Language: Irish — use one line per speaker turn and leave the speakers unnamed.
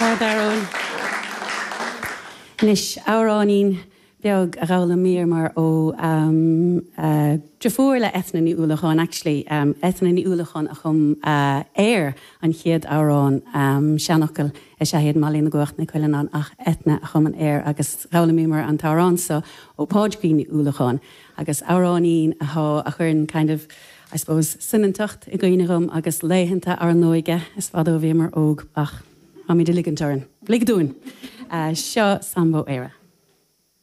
Ard-amhrán. Anois, amhráinín beag a d'fhoghlaimíomar ó deirfiúr le Eithne Ní Uallacháin, actually, Eithne Ní Uallacháin a chum air an chéad amhrán, seanfhocail is ea iad Mailí na gCuach na Cuileannáin ach Eithne a chum an air agus d'fhoghlaimíomar an t-amhrán seo ó Pádraigín Ní Uallacháin agus amhráinín atá, a chuireann kind of, I suppose, soineantacht i gcuimhne dhom agus laethanta ár n-óige, is fada ó bhíomar óg ach táimid ag ligint orainn. Lig dúinn! Seo Sambó Éire.